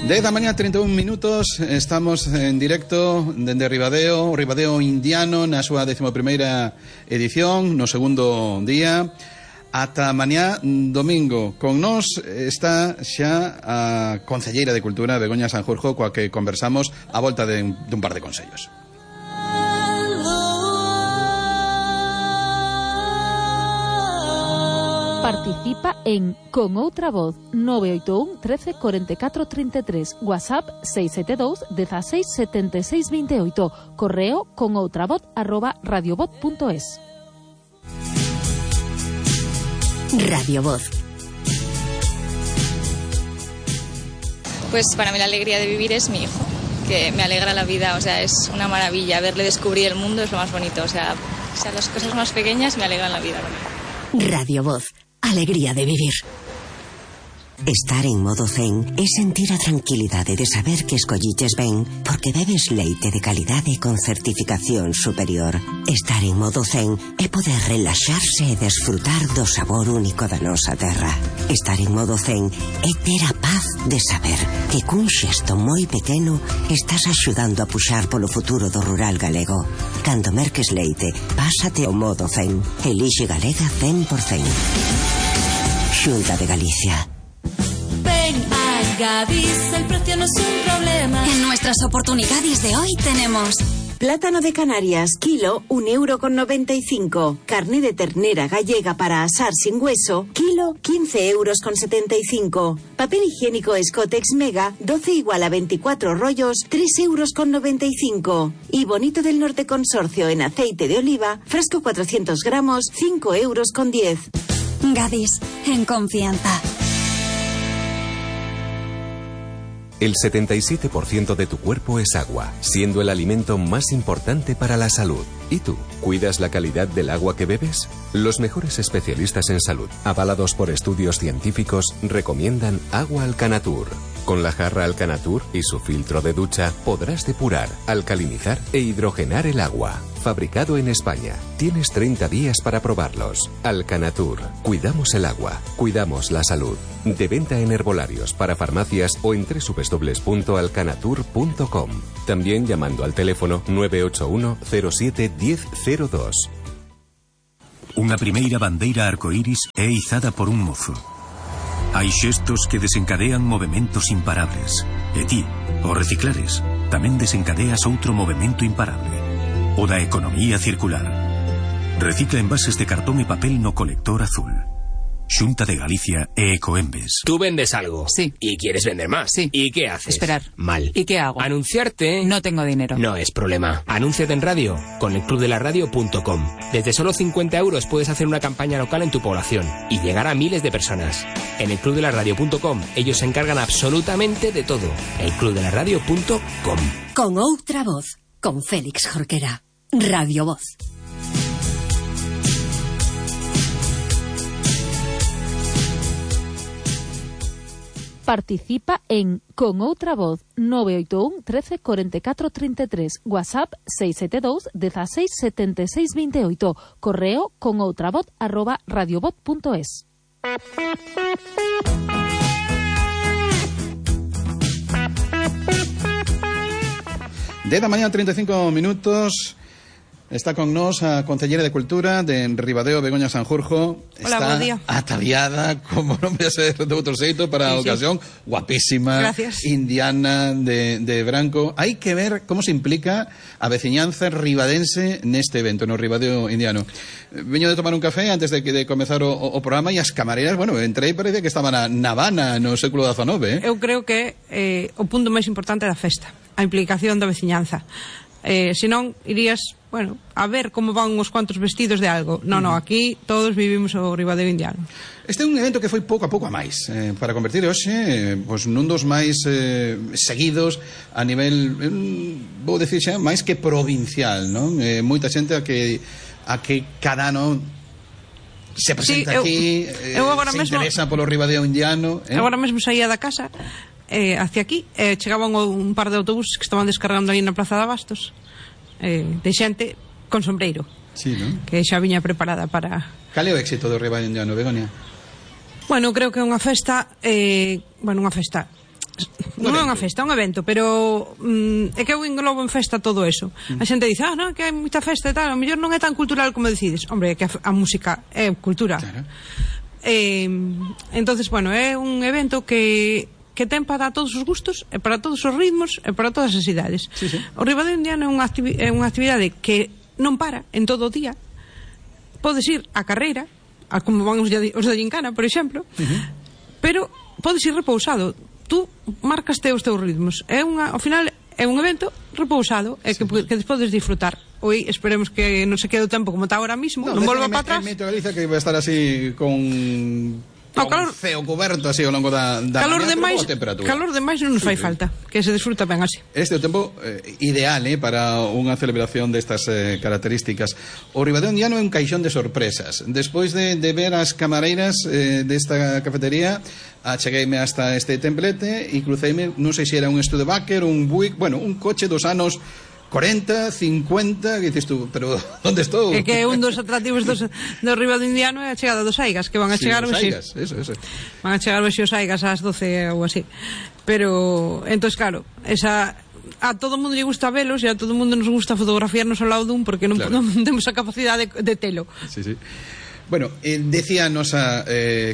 10 da mañá, 31 minutos, estamos en directo dende Ribadeo Indiano, na súa 11ª edición, no segundo día. Ata mañá, domingo. Con nós está xa a concelleira de Cultura, Begoña Sanjurjo, coa que conversamos a volta dun par de consellos. Participa en Con Outra Voz 981 13 44 33, WhatsApp 672 16 76 28, correo conoutravoz@radiovoz.es. Radio Voz. Pues para mí la alegría de vivir es mi hijo, que me alegra la vida, o sea, es una maravilla. Verle descubrir el mundo es lo más bonito, o sea las cosas más pequeñas me alegran la vida. Radio Voz. Alegría de vivir. Estar en modo zen é sentir a tranquilidade de saber que escolliches ben porque bebes leite de calidade con certificación superior. Estar en modo zen é poder relaxarse e desfrutar do sabor único da nosa terra. Estar en modo zen é ter a paz de saber que cun xesto moi pequeno estás axudando a puxar polo futuro do rural galego. Cando merques leite, pásate ao modo zen. Elixe Galega 100%. Xunta de Galicia. Ven a Gadis, el precio no es un problema. En nuestras oportunidades de hoy tenemos plátano de Canarias, kilo, 1,95 €. Carne de ternera gallega para asar sin hueso, kilo, 15,75 €. Papel higiénico Scotex Mega, 12 igual a 24 rollos, 3,95 €. Y Bonito del Norte Consorcio en aceite de oliva, frasco 400 gramos, 5,10 €. Gadis, en confianza. El 77% de tu cuerpo es agua, siendo el alimento más importante para la salud. ¿Y tú? ¿Cuidas la calidad del agua que bebes? Los mejores especialistas en salud, avalados por estudios científicos, recomiendan agua Alcanatur. Con la jarra Alcanatur y su filtro de ducha podrás depurar, alcalinizar e hidrogenar el agua. Fabricado en España. Tienes 30 días para probarlos. Alcanatur. Cuidamos el agua. Cuidamos la salud. De venta en herbolarios, para farmacias o en www.alcanatur.com. También llamando al teléfono 981 07 1002. Unha primeira bandeira arcoíris é izada por un mozo. Hai xestos que desencadean movementos imparables. E ti, ao reciclares, tamén desencadeas outro movemento imparable. O da economía circular. Recicla envases de cartón e papel no colector azul. Xunta de Galicia e Ecoembes. Tú vendes algo. Sí. ¿Y quieres vender más? Sí. ¿Y qué haces? Esperar. Mal. ¿Y qué hago? Anunciarte. No tengo dinero. No es problema. Anúnciate en radio con elclubdelaradio.com. Desde solo 50 € puedes hacer una campaña local en tu población y llegar a miles de personas. En elclubdelaradio.com ellos se encargan absolutamente de todo. elclubdelaradio.com. Con Outra Voz, con Félix Jorquera. Radio Voz. Participa en Con Outra Voz 981 13 44 33, WhatsApp 672 16 76 28, correo conoutravoz@radiovoz.es. De la mañana, 35 minutos. Está con nós a concelleira de Cultura de Ribadeo, Begoña Sanjurjo. Hola, está bo día. ataviada, como non voy a ser de outro xeito, para a ocasión. Guapísima. Gracias. Indiana, de branco. Hai que ver como se implica a veciñanza ribadense neste evento, no Ribadeo Indiano. Veño de tomar un café antes de comezar o programa e as camareras, bueno, entrei e parecía que estaban na Habana no século XIX, Eu creo que o punto máis importante da festa, a implicación da veciñanza. Senón, irías, bueno, a ver como van uns cuantos vestidos de algo. No, aquí todos vivimos o Ribadeo Indiano. Este é un evento que foi pouco a pouco a máis, para convertir hoxe nun dos máis seguidos a nivel, vou dicir xa, máis que provincial, non? Moita xente a que cada ano se presenta aquí, se interesa polo Ribadeo Indiano. Agora mesmo saía da casa hacia aquí, chegaban un par de autobuses que estaban descargando aí na Plaza de Abastos, de xente con sombreiro, sí, ¿no? Que xa viña preparada para... Cal é o éxito do Ribadeo Indiano, Begoña? Bueno, creo que é unha festa, unha festa non é unha festa, é un evento, pero é que eu englobo en festa todo eso. A xente dice, non, que hai moita festa e tal, a mellor non é tan cultural como decides. Hombre, é que a música é cultura. Claro. Entonces, bueno, é un evento que ten para todos os gustos, e para todos os ritmos, e para todas as idades. Sí, sí. O Ribadeo Indiano é unha actividade que non para en todo o día. Podes ir a carreira, como van os de Gincana, por exemplo, pero podes ir repousado. Tú marcaste os teus ritmos. Ao final é un evento repousado e que podes disfrutar. Hoy esperemos que non se quede o tempo como está ahora mismo, non volva para atrás. En Galicia que vai estar así con ceo coberto así ao longo da calor demais non nos fai falta, que se disfruta ben así. Este é o tempo ideal para unha celebración destas características. O Ribadeo Indiano é un caixón de sorpresas. Despois de ver as camareiras desta cafetería, achegueime hasta este templete e cruceime, non sei se era un Studebaker, un Buick, bueno, un coche dos anos 40, 50, que dices tú, pero onde estou? É que un dos atractivos do Ribadeo Indiano é a chegada dos Aigas, que van a chegar hoxe. Eso. Van a chegar hoxe os Aigas ás 12 ou así. Pero, entón, claro, a todo mundo lle gusta velos e a todo mundo nos gusta fotografiarnos ao lado dun porque non temos a capacidade de telo. Sí. Bueno, decía a nosa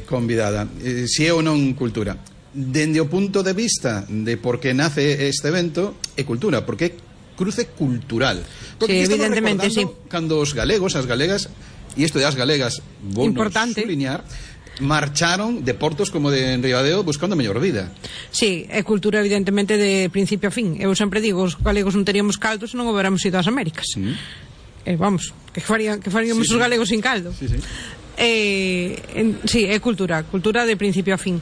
convidada, se é ou non cultura. Dende o punto de vista de por que nace este evento, é cultura, porque é cruce cultural. Porque sí, evidentemente, sí. Cando os galegos, as galegas, e isto de as galegas, vou subliñar, marcharon de portos como de Ribadeo buscando a mellor vida. Sí, é cultura evidentemente de principio a fin. Eu sempre digo, os galegos non teríamos caldo se non houbéramos ido ás Américas. Vamos, que faríamos os galegos sin caldo. Sí, é cultura de principio a fin.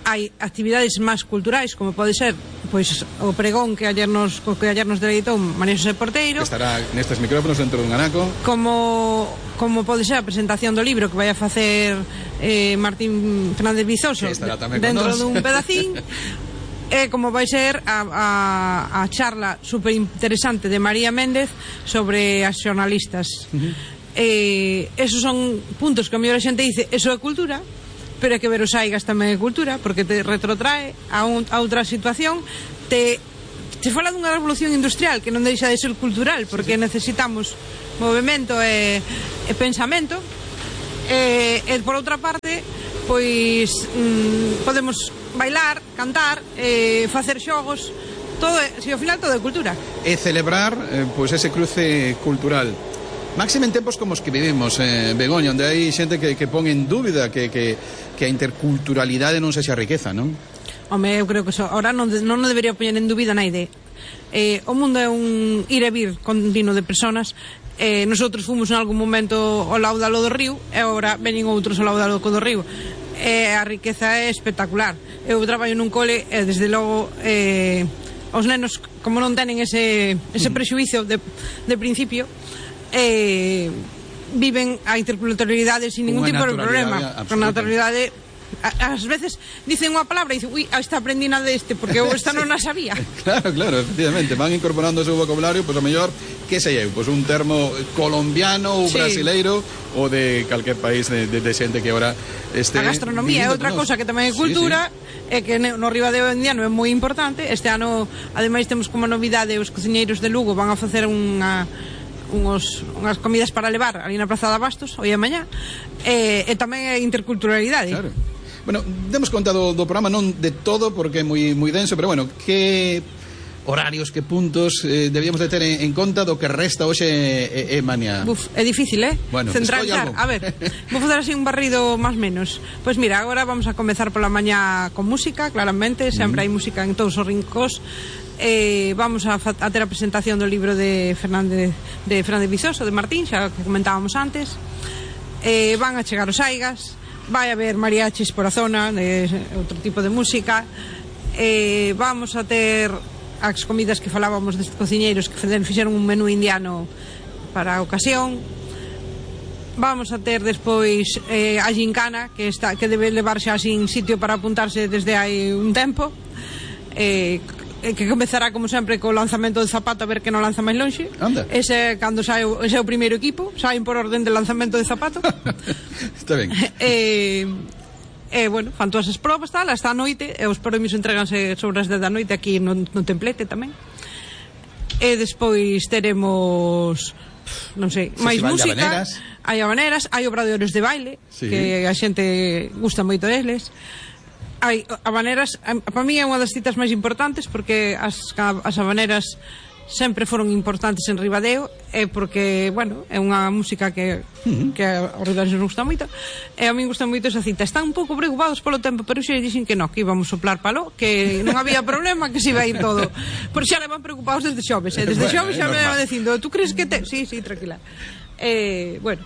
Hai actividades máis culturais, como pode ser pois o pregón que ayer nos deleitou María José Porteiro, que estará nestes micrófonos dentro dun anaco, como pode ser a presentación do libro que vai a facer Martín Fernández Vizoso dentro dun pedacín, e como vai ser a charla super interesante de María Méndez sobre as xornalistas. Esos son puntos que a mellor a xente dice, eso é cultura, pero é que ver os Aigas tamén é cultura, porque te retrotrae a outra situación, te fala dunha revolución industrial que non deixa de ser cultural, porque necesitamos movimento e pensamento, e por outra parte pois podemos bailar, cantar, facer xogos, todo, ao final todo é cultura. E celebrar pois ese cruce cultural. Máxime en tempos como os que vivimos, Begoña, onde hai xente que pon en dúbida que a interculturalidade non sexa riqueza, non? Home, eu creo que ahora non debería poñer en dúbida naide. O mundo é un ir e vir continuo de personas. Nosotros fomos en algún momento ao laudalo do río e agora veñen outros ao laudalo do río. A riqueza é espectacular. Eu traballo nun cole e desde logo os nenos, como non tenen ese prexuizo de principio, viven a interculturalidade sin ningún tipo de problema, con naturalidade. Ás veces dicen unha palabra e dicen, ui, esta aprendina deste porque eu esta non a sabía. Claro, efectivamente, van incorporando o seu vocabulario, pois a mellor, que sei eu, pois un termo colombiano ou brasileiro ou de calquer país de xente que agora este. A gastronomía é outra cosa que tamén é cultura, é que no Ribadeo Indiano é moi importante. Este ano, ademais, temos como novidade os cociñeiros de Lugo van a facer unhas comidas para levar ali na Praza de Abastos hoy e mañá, e tamén é interculturalidade. Claro. Bueno, demos conta do programa, non de todo porque é moi denso, pero bueno, que horarios, que puntos debíamos de ter en conta do que resta hoxe e mañá? É difícil, Bueno, centralizar. A ver, vou facer así un barrido máis menos. Pois mira, agora vamos a comezar pola mañá con música, claramente, sempre hai música en todos os rincóns. Vamos a ter a presentación do libro de Fernández Vizoso, de Martín, xa que comentábamos antes. Van a chegar os Aigas, vai haber mariachis por a zona, de outro tipo de música. Vamos a ter as comidas que falábamos destes cociñeiros que fixeron un menú indiano para a ocasión. Vamos a ter despois a Gincana, que debe levarse así en sitio para apuntarse desde hai un tempo, que comezará como sempre co lanzamento de zapato, a ver que non lanza máis lonxe. Ese cando ese é o primeiro equipo, saen por orden de lanzamento de zapato. Está ben. bueno, fan todas as probas, tal, hasta a noite, e os premios entreganse sobre as 10 da noite aquí no templete tamén. E despois teremos, non sei, máis música, hai habaneras, hai obradoiros de baile, que a xente gusta moito deles. Hai habaneras, para mí é unha das citas máis importantes, porque as habaneras sempre foron importantes en Ribadeo, é porque, bueno, é unha música que aos ribadeños nos gusta moito, e a mí gusta moito esa cita. Están un pouco preocupados polo tempo, pero xe dixen que non, que íbamos soplar palo, que non había problema, que se iba a ir todo. Por xa levan preocupados desde xoves, desde xoves xa me levan dicindo, tú crees que te... Sí, tranquila. Bueno,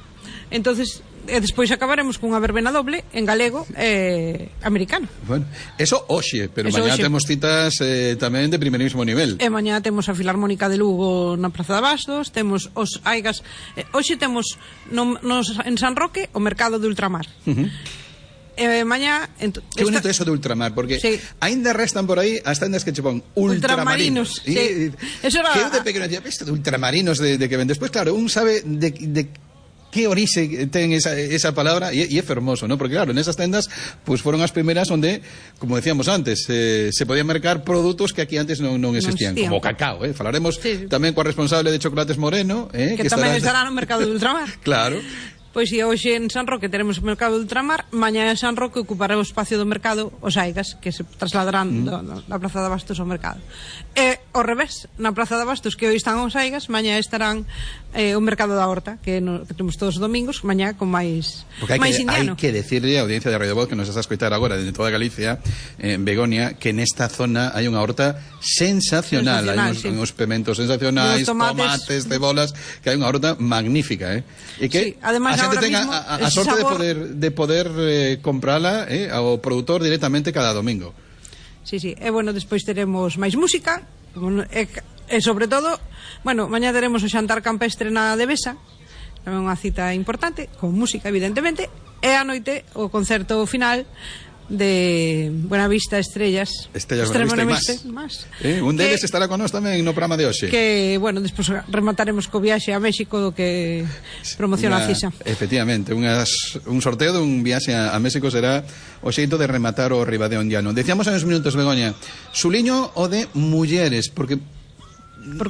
entonces... E despois acabaremos cunha verbena doble en galego e americano. Bueno, eso hoxe, pero mañá temos citas tamén de primerísimo nivel. E mañá temos a Filarmónica de Lugo na Praza de Bastos, temos os Aigas, hoxe temos en San Roque o mercado de ultramar. Mañá... Que bonito eso de ultramar, porque ainda restan por aí as tendas que che pon ultramarinos. Eso era... Que eu de pequeno dicía, isto de ultramarinos de que ven. Despois, claro, un sabe de que orixe ten esa palabra, e é fermoso, ¿no? Porque claro, nesas tendas pues foron as primeras onde, como decíamos antes, se podían mercar produtos que aquí antes non existían, como o cacao, falaremos tamén coa responsable de Chocolates Moreno, que tamén estará no mercado de ultramar. Claro. Pois si hoxe en San Roque teremos o mercado de ultramar, mañá en San Roque ocupará o espacio do mercado os Aigas, que se trasladarán da Praza de Bastos ao mercado. E ao revés, na Praza de Bastos, que hoxe están os Aigas, mañá estarán o mercado da Horta, que temos todos os domingos, mañá con máis indiano. Hai que decirle a audiencia de Radio Voz que nos está a escoitar agora desde toda Galicia, en Begoña, que nesta zona hai unha horta sensacional, hai uns pementos sensacionais, tomates, cebolas, que hai unha horta magnífica, e que además a xente tenga a sorte de poder comprala ao produtor directamente cada domingo. Sí, e bueno, despois teremos máis música, e sobre todo, bueno, mañá teremos o xantar campestre na Devesa, é unha cita importante, con música evidentemente, e a noite o concerto final de Buenavista Estrellas Buenavista e más. Un deles estará con nós tamén no programa de hoxe, que, bueno, despois remataremos co viaxe a México que promociona a CISA. Efectivamente, un sorteo dun viaxe a México será o xeito de rematar o Ribadeo indiano. Decíamos en uns minutos, Begoña, suliño o de mulleres, porque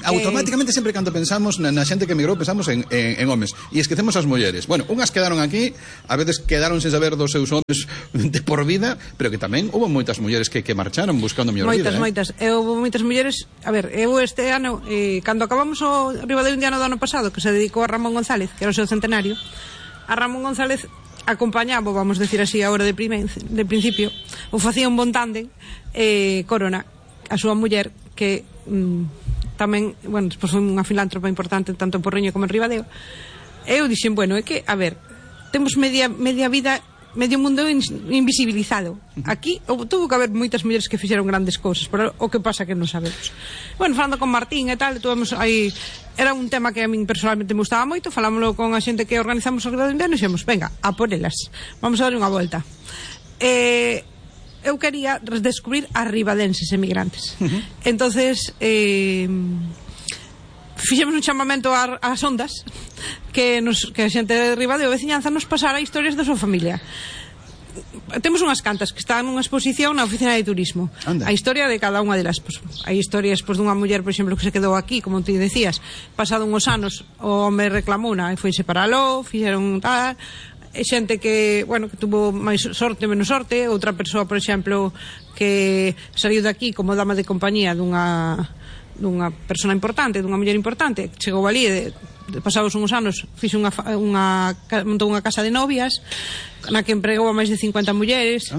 automáticamente sempre cando pensamos na xente que emigrou pensamos en homes e esquecemos as mulleres. Bueno, unhas quedaron aquí, a veces quedaron sen saber dos seus homes de por vida, pero que tamén houve moitas mulleres que marcharon buscando mellor vida. Moitas. Houve moitas mulleres. A ver, eu este ano, cando acabamos o Ribadeo indiano do ano pasado, que se dedicou a Ramón González, que era o seu centenario, a Ramón González acompañaba, vamos decir así agora de principio, o facía un bon tándem Corona, a súa muller, que tamén, bueno, despois foi unha filántropa importante tanto en Porriño como en Ribadeo. Eu dixen, bueno, é que, a ver, temos media vida, medio mundo invisibilizado. Aquí tuvo que haber moitas mulleres que fixeron grandes cousas, pero o que pasa que non sabemos. Bueno, falando con Martín e tal, tuvemos aí, era un tema que a min personalmente me gustaba moito, falámoslo con a xente que organizamos o Ribadeo indiano e dixemos, venga, a por elas, vamos a dar unha volta. Eu quería descubrir as ribadenses emigrantes. Entonces fixemos un chamamento ás ondas que a xente de Ribadeo veciñanza nos pasara historias da súa familia. Temos unhas cantas que están nunha exposición na oficina de turismo. A historia de cada unha delas, hai historias dunha muller, por exemplo, que se quedou aquí, como ti decías, pasado uns anos o home reclamou e foise para aló, fixeron tal. Xente que, bueno, que tuvo máis sorte, menos sorte. Outra persoa, por exemplo, que saiu daqui como dama de compañía dunha persona importante, dunha muller importante, chegou ali e pasados uns anos montou unha casa de novias na que empregou a máis de 50 mulleres.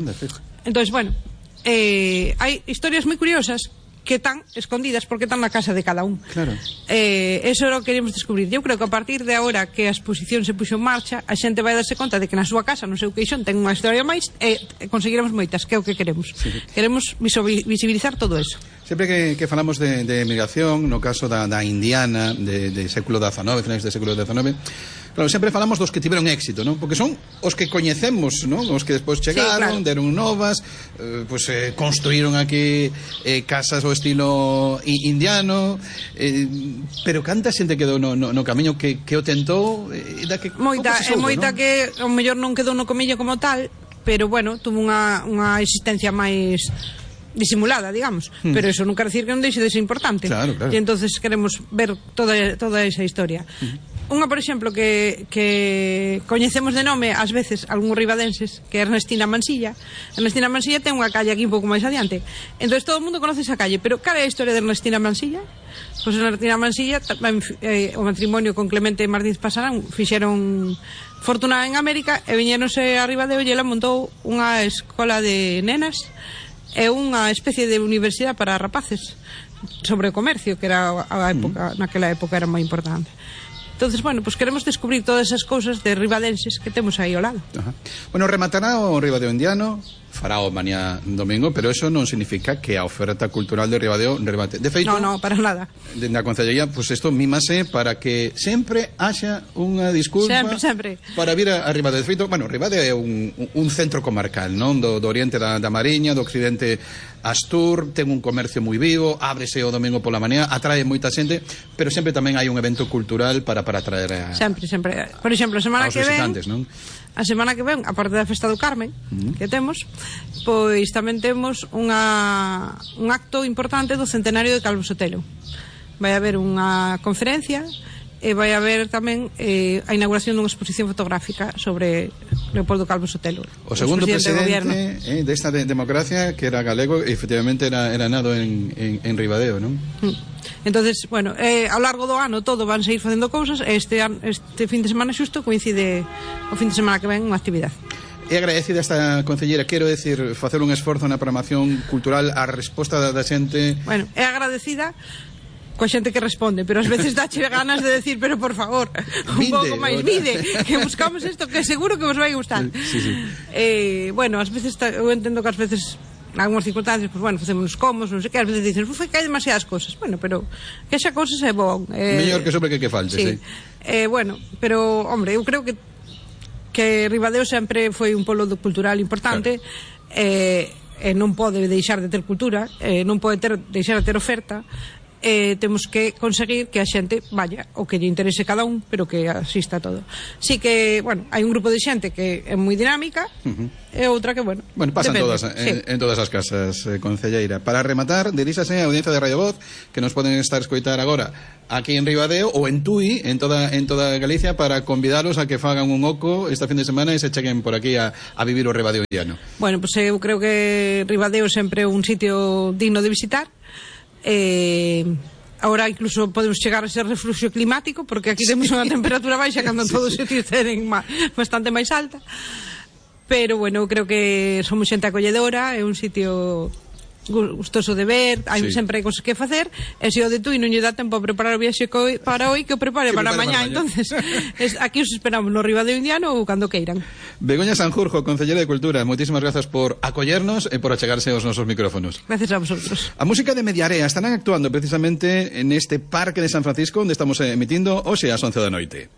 Entón, bueno, hai historias moi curiosas que están escondidas porque están na casa de cada un. Claro. Eso era o que queríamos descubrir. Eu creo que a partir de agora que a exposición se puxo en marcha, a xente vai darse conta de que na súa casa, no seu queixón, ten unha historia máis e conseguiremos moitas, que é o que queremos. Sí. Queremos visibilizar todo eso. Sempre que falamos de emigración, no caso da indiana de século XIX, finais de século XIX, claro, sempre falamos dos que tiveron éxito, ¿no? Porque son os que coñecemos, ¿no? Os que despois chegaron, deron novas, construíron aquí casas ao estilo indiano, pero canta xente quedou no camiño que o tentou, moita que ao mellor non quedou no comiño como tal, pero bueno, tuvo unha existencia máis disimulada, digamos, pero eso non quer decir que non deixe de ser importante. Claro. E entonces queremos ver toda esa historia. Unha, por exemplo, que coñecemos de nome ás veces algúns ribadenses, que é Ernestina Mansilla. Ernestina Mansilla ten unha calle aquí un pouco máis adiante. Entón todo o mundo conoce esa calle, pero cal é a historia de Ernestina Mansilla? Pois Ernestina Mansilla, o matrimonio con Clemente Martínez Pasarán, fixeron fortuna en América e viñéronse a Ribadeo e ela montou unha escola de nenas e unha especie de universidade para rapaces sobre o comercio, que era a época, naquela época era moi importante. Entonces, bueno, pues queremos descubrir todas esas cousas de ribadenses que temos aí ao lado. Ajá. Bueno, rematará o Ribadeo Indiano, fará o mañá domingo, pero eso non significa que a oferta cultural de Ribadeo remate. De feito, no, para nada. Na Concellería, pues isto mímase para que sempre haxa unha disculpa sempre. Para vir a Ribadeo. De feito, bueno, Ribadeo é un centro comarcal, non? Do oriente da Mariña, do occidente Astur, ten un comercio moi vivo, ábrese o domingo pola mañá, atrae moita xente, pero sempre tamén hai un evento cultural para atraer a... Sempre. Por exemplo, a semana que ven, non? A semana que ven, aparte da Festa do Carmen, que temos, pois tamén temos un acto importante do centenario de Calvo Sotelo. Vai haber unha conferencia e vai haber tamén a inauguración dunha exposición fotográfica sobre Leopoldo Calvo Sotelo, o segundo presidente desta democracia, que era galego, e efectivamente era nado en Ribadeo, non? Entonces, bueno, ao largo do ano todo van seguir facendo cousas e este fin de semana xusto coincide o fin de semana que ven unha actividade. É agradecida esta concelleira, quero decir, facer un esforzo na programación cultural, a resposta da xente. Bueno, é agradecida coa xente que responde, pero ás veces dache ganas de decir, pero por favor, un pouco máis vide, que buscamos isto que seguro que vos vai gustar. Sí. Bueno, ás veces eu entendo que ás veces algunhas circunstancias, pues bueno, facemos comos, non sei que, ás veces dicen, que hai demasiadas cousas. Bueno, pero que xa cousas é bon. Mellor que sobre que falte, sí. Bueno, pero, hombre, eu creo que Ribadeo sempre foi un polo cultural importante, non pode deixar de ter cultura, non pode deixar de ter oferta, temos que conseguir que a xente vaya o que lle interese cada un, pero que asista a todo. Sí que, bueno, hai un grupo de xente que é moi dinámica e outra que, bueno, pasan depende. Todas en todas as casas, concelleira. Para rematar, diríxase a audiencia de Radio Voz, que nos poden estar escoitar agora aquí en Ribadeo ou en Tui, en toda Galicia, para convidalos a que fagan un oco esta fin de semana e se cheguen por aquí a vivir o Ribadeo indiano. Bueno, pues eu creo que Ribadeo sempre é un sitio digno de visitar. Ahora incluso podemos chegar a ser refluxo climático, porque aquí temos unha temperatura baixa cando todos os sitios tenen bastante máis alta, pero bueno, creo que somos xente acolledora, é un sitio gustoso de ver, hai sempre hai cosas que facer, e se o de Tui non lle dá tempo a preparar o viaxe para hoy, que o prepare para mañá. Entonces aquí os esperamos no Ribadeo Indiano ou cando queiran. Begoña Sanjurjo, concelleira de Cultura, moitísimas grazas por acollernos e por achegarse aos nosos micrófonos. Gracias a vosotros. A música de Mediarea estarán actuando precisamente en este Parque de San Francisco, onde estamos emitindo hoxe ás 11 da noite.